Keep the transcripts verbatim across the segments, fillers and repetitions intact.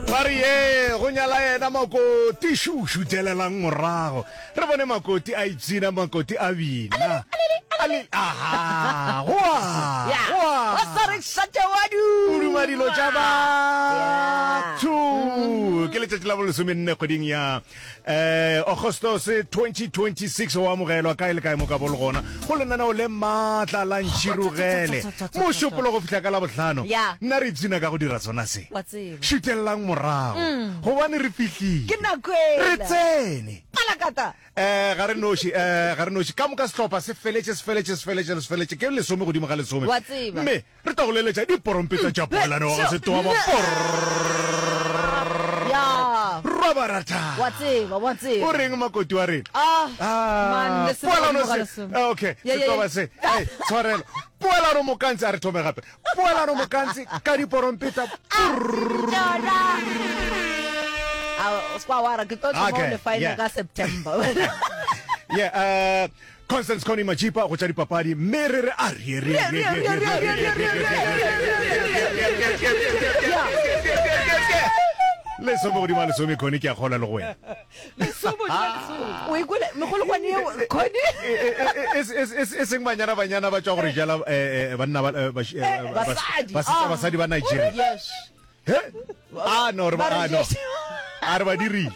Ba re ye go nyala yena Makoti, šu šutelelang morago. Re bone Makoti a ipshina, Makoti a bina. Ale, aha, goa, goa. Wa sa re šate wa O duma dilo tša batho. Ke letšatši la bolesomenne kgweding ya eh Agostose twenty twenty-six. O amogelwa kae le kae mo ka bo le gona go lenaneo le maatla la Ntšhirogele mošupolo go fihla ka la bohlano. Ya. Nna re ipshina ka go dira sona se. Wa tseba. Šutelelang morago gobane re fihlile. Ke nako Re ela. tsene. Palakata. Eh, ga re noši, eh, ga re noši. Ka moka sehlopha se feletše, se feletše, se feletše, se feletše. Ke lesome godimo ga lesome. Wa tseba. Mme re tla go leletša diporompeta tša poelano wa ga Setoa ba Ya. Robarata. Wa tseba, wa tseba. O reng Makoti wa rena? Ah, Ah, man, lesome poelano godimo ga se. lesome. Ah, okay, Ya, ya, Setoa ya. se. Hey, tshwarelo. Poelano Mokantsi, a re thome gape. Poelano Mokantsi ka diporompeta. Tšona. Ah, o se kwa wa re ke tlo thoma Okay, go lefa yeah. ka September. Yeah, uh, Constance Connie Majipa go tša dipapadi, mme re re a re re re re re re re re re lesome godimo ga lesome. Connie, ke a kgola le go wena. O ikwele megolokwane yeo, Connie? E seng banyana banyana ba tšwa gore jala banna ba Basadi. basadi ba Nigeria. Yes. He? Ah no, re ba ah no. A re ba dirile.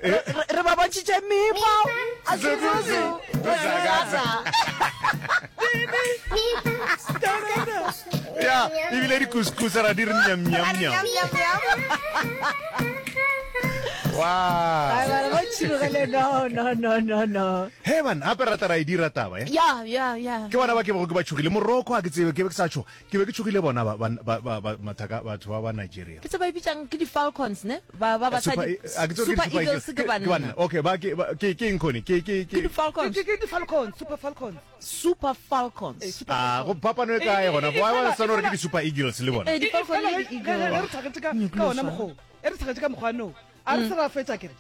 Re re ba bontšhitše memo. A zuzu. Ya, ebile dikuskus ra di re nyam nyam nyam. Wow. Ai, ba ba tšhirogele, no no no no no. He man, gape rata ra e dira taba eh. Ya ya ya. Ke bona ba ke bego ke ba tšhogile. Morocco a ke tsebe, ke be ke sa tšhoga. Ke be ke tšhogile bona ba ba ba ba mathaka batho ba ba Nigeria. Ke tse ba e bitsang ke di Falcons ne? Ba ba Super basadi. a ke tsebe Super ke di Eagles ke banna. Okay, ba ke ba- ke ke eng Connie? Ke ke Ke di ke Falcons. Ke di Falcons, Super Falcons. Super Falcons. Eh, Super Ah, go Falcons. phapano e kae Eh, gona? eh, eh, Why ba fela- sa no re ke fela- di Super Eagles le bona? Eh, di E- e Falcon fela le ge di ge- ge Eagles. re thagetše ka ka ona mokgwa o, e re thagetše ka mokgwa no a re se ra fetša kere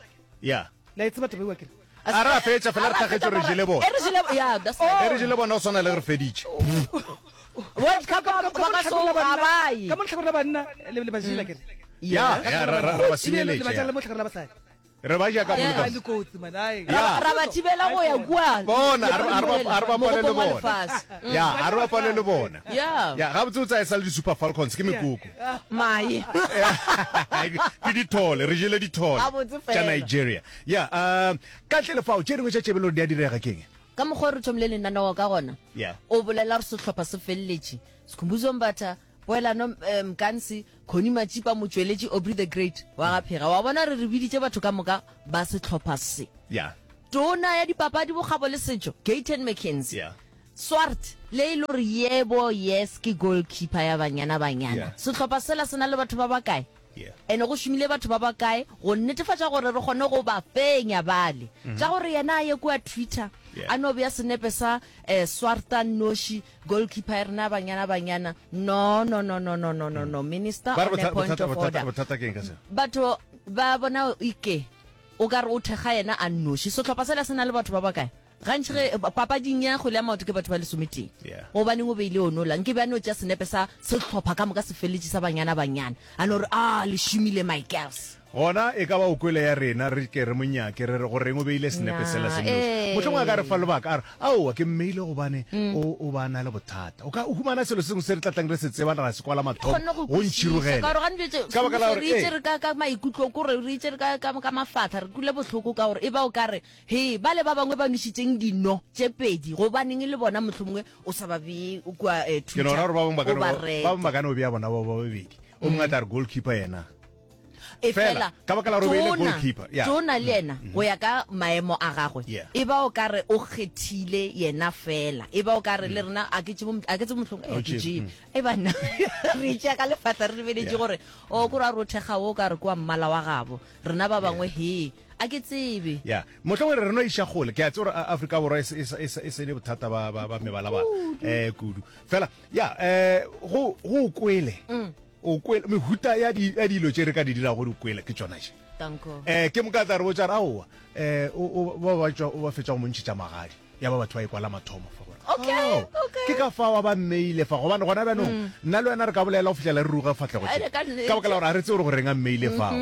Yeah. la e tseba taba eo kere A re a fetša fela re thagetše re jele bona. E re jele, yeah, that's right. E re jele bona o swana le re feditše. World Cup Ka- ba ka- ka mo ka so lehlakoreng la ga banna- ba ye. ka mo lehlakoreng la banna le le ba jela kere Ya, ya ra ra ra ba Ebile le senyeletše. ba jela ya. mo lehlakoreng la basadi. Re ba ja ka Yeah. boloka. Ai, le kotsi man, ai. Ya. Ra ba thibela go ya kua. Bona, a re a re ba a re bapale le Mogopong wa bona. lefase. Ya, a re bapale le bona. Yeah. Ya, gabotse o tsaya e sa le di Super Falcons ke mekoko. Mae. Ke dithole, re jele dithole Gabotse tša fela. Nigeria. Ya, um ka ntle le fao tše dingwe tša tšebelo di a direga keng? Ka mokgwa o re thomile lenaneo ka gona. Yeah. O bolela re sehlopha se feleletše. Sikhumbuzo Mbatha, Poelano eh, Mkansi, Connie Majipa, Motšweletši, Aubrey the Great wa ga Phega. Wa bona re re biditše batho ka moka ba sehlopha se. Ya. Tona ya dipapadi, bokgabo le setšo, Gayton McKenzie. Yeah. Swart le e le gore yebo yes ke goalkeeper ya Banyana Banyana. Yeah. Sehlopha sela se na le batho ba bakae? Yeah. Ene go šomile batho ba bakae go netefatša gore re kgone go ba fenya bale. Tša gore yena a ye kua Twitter Yeah. a no bea senepe sa eh, Swarta Noshi goalkeeper ya rena Banyana Banyana. No no no no no no no no minister Ba re on a botha- point bothata of bothata order. bothata keng ka se? Batho ba bona ike o ka re o thekga yena a nnoši. Sehlopha sela se na le batho ba bakae? Gantši ge papading ya kgwele ya maoto ke batho ba lesometee. Yeah. Gobaneng o beile onola? Nke be a no tšea senepe sa sehlopha ka moka se feletše sa Banyana Banyana. A no re ah le šomile my girls. Gona e ka ba o kwele ya rena re ke re monyake re re go reng o beile senepe sela se Nah, nnoši. eh. Mohlomongwe a ka re fa lebaka a re aowa ke mmeile gobane o o ba na le bothata. O ka o humana selo se sengwe se re tla tlang re se tseba ra se kwala mathomo Kgonne go go kwešiša ntšhirogele. ka gore gane bjetse Ka baka la gore re itse eh, re ka ka maikutlo kore re itse re ka ka ka mafatla re kule bohloko ka gore e ba o ka re he ba le ba bangwe ba nwešitšeng dino tše pedi gobaneng le bona mohlomongwe o sa ba bee kua eh, ke no Twitter ra gore ba bangwe ba ka o no ba ba rete. bangwe ba ka no bea bona ba ba babedi. O mongwe a tla re goalkeeper yena. E Fela, fela ka baka la gore o beile Tona- goalkeeper, yeah. Tona le yena go ya ka maemo a gagwe Yeah. e ba o ka re o kgethile yena fela e ba o ka re le rena a ke tsebe a ke tsebe mohlomong O eh, ke tšebe, tšebe e ba nna re tšea ka lefatla re lebeletše Yeah. gore o ko ra rothega o ka re kwa mmala wa gabo rena ba bangwe he a ke tsebe ya mohlomongwe re re no iša kgole ke a tseba gore A- Afrika Borwa e se- e sa- e sa- e se ne bothata ba ba ba mebalabala eh kudu fela ya eh go go kwele o kwele mehuta ya di ya dilo tše re ka di dirago gore o kwele ke tšona tše Danko eh ke moka tla re botša re aowa eh o o ba ba tšwa o ba fetša go mo ntšhetša magadi ya ba batho ba e kwala mathomo fa gore Okay, Oh, okay. Ke ka fao a ba mmeile fa gobane gona bjanong nna le wena re ka bolela go fihlela re ruga fahlego tše. Ene ka nnete. Ka baka la gore ga re tsebe gore goreng a mmeile fao.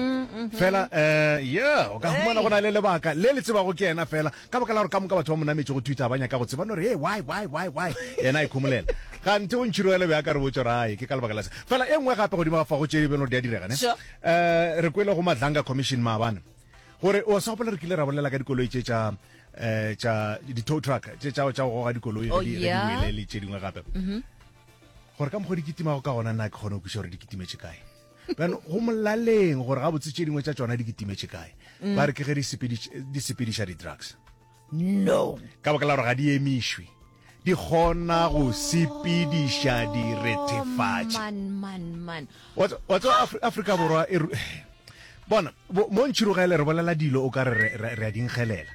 Fela um yeah, o ka humana go na le lebaka le le tsebago ke yena fela ka baka la gore ka moka batho ba mo nametše go Twitter ba nyaka go tseba no re hey why why why why yena a ikhomolela. Ganthe o ntšhirogele be a ka re botša gore ai ke ka lebaka la se. Fela e nngwe gape godimo ga fa go tše di beno di a direga ne. Sure. Eh re kwele go Madlanga Commission maabane gore o sa gopola re kile ra bolela ka dikoloi tše tša eh tša di-tow truck tše tša tša go goga dikoloi ge Oh, di ge di yeah. wele le tše dingwe gape gore ka mokgwa di kitimago ka gona nna ke kgone go kweša gore di kitimetše kae bjano go molaleng gore gabotse tše dingwe tša tšona di kitimetše kae ba re ke ge di sepediš- di sepediša di-drugs No. ka baka la gore ga di emišwe di kgona go sepediša direthefatši Man, man, man. wa tse- wa tseba Afri- Afrika Borwa e ru- bona bo- mo ntšhirogele re bolela dilo o ka re re- re re a di nkgelela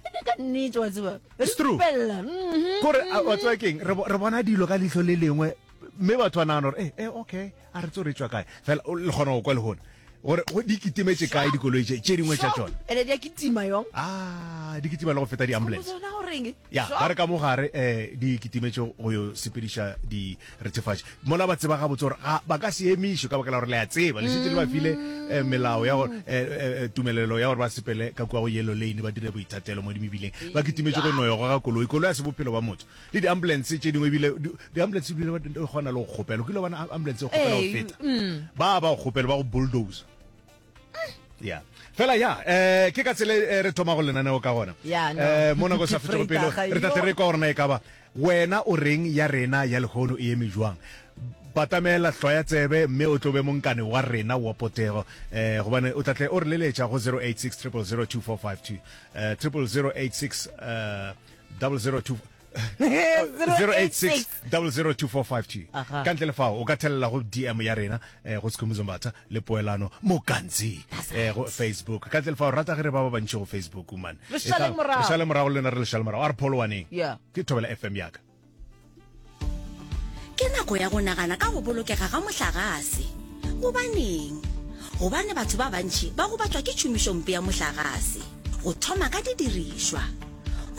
Ene ka nnete wa tseba. Re It's true. ipella. Mhm. kore a- wa tseba keng re bo- re bona dilo ka leihlo le lengwe mme batho ba nagana gore eh, eh, okay a re tse re tswa kae fela o- le kgona go kwa lehono gore go di kitimetše kae dikoloi tše tše dingwe tša tšona Ene di a kitima yong. ah di kitima le go feta di-ambulance Tsona goreng? ya Sure. ba re ka mo gare um di kitimetše go yo sepediša direthefatši mola ba tseba gabotse gore ga ba ka se emišwe ka baka la gore le a tseba le šetše le ba file eh, melao ya gore eh, eh, tumelelo ya gore ba sepele ka kua go yellow lane ba dire boithatelo mo dimebileng ba kitimetše go noyo goga koloi koloi ya se bophelo ba motho le di-ambulance tše dingwe ebile di- di-ambulance ebile ba- di kgona le go kgopela o kile wa bona ambulance e kgopela go Ee, feta ba ba go kgopela ba go bulldoze ya fela ya eh ke ka tsela e re thoma go lenaneo ka gona Ya, no. eh mo nako sa Ke fetšego pelo Vrydag, re tate yo. re kwa gore na e ka ba wena o reng ya rena ya lehono e eme jwang batamela hlwa ya tsebe mme o tlo be monkane wa rena wa potego eh gobane o tlatle o re leletša go zero eight six triple zero two four five two eh triple zero eight six eh double zero two zero eight six double zero two four five two Aha. ka ntle le fao o ka thelela go D M ya rena eh, go Sekhumuzo Mbatha le Poelano Mokantsi eh, go Facebook ka ntle le fao rata ge re ba ba bantši go Facebook man Re šaleng E tla- morago. re šale morago le lena re le šale morago a re pholowaneng Yeah. ke Thobela F M yaka. Ke nako ya go nagana ka go bolokega ga mohlagase. Gobaneng? Gobane batho ba bantši ba gobatšwa ke tšhomišompe ya mohlagase, go thoma ka didirišwa.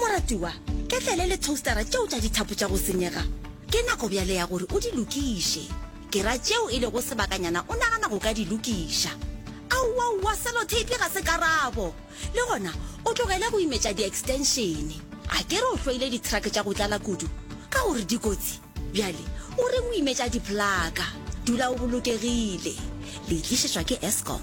Moratiwa, ketlele le toastera tšeo tša dithapo tša go senyega, ke nako bjale ya gore o di lokiše. Ke ra tšeo e lego sebakanyana o nagana go ka di lokiša. Aowaowa, sellotape ga se karabo. Le gona o tlogele go imetša di-extension. A ke re o hloile di-truck tša go tlala kudu ka gore di kotsi? Bjale o reng o imetša diplaka? Dula o bolokegile. Le tlišetšwa ke Eskom.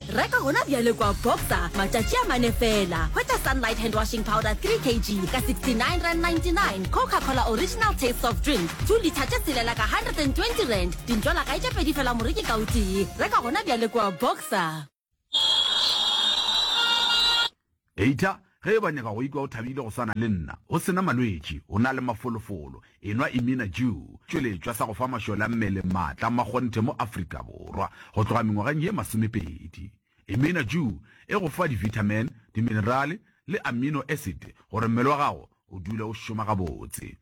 Reka gona bjale kwa Boxer matšatši a mane fela. Hwetša Sunlight hand washing powder three kilograms ka sixty-nine rand ninety-nine, Coca-Cola original taste soft drink two litre tše tshelela ka hundred and twenty rand, dintšwalagae tše pedi fela moreki ka o tee. Reka gona bjale kwa Boxer. Heita, ge e ba nyaka go ikwa o thabile go swana le nna, o sena malwetši, o na le mafolofolo, enwa Imina Dew, tšweletšwa sa go fa mašole a mmele maatla makgonthe mo Afrika Borwa go tloga mengwageng ye masomepedi. Imina Dew e go fa di-vitamin, di-minerale le amino acid gore mmele wa gago o dule o šoma gabotse.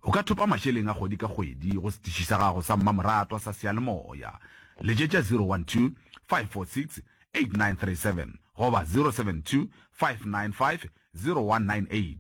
O ka thopa mašeleng a kgwedi ka kgwedi go setiši sa gago sa mmamoratwa sa seyalemoya. Letšetša zero one two, five four six, eight nine three seven goba zero seven two, five nine five, zero one nine eight.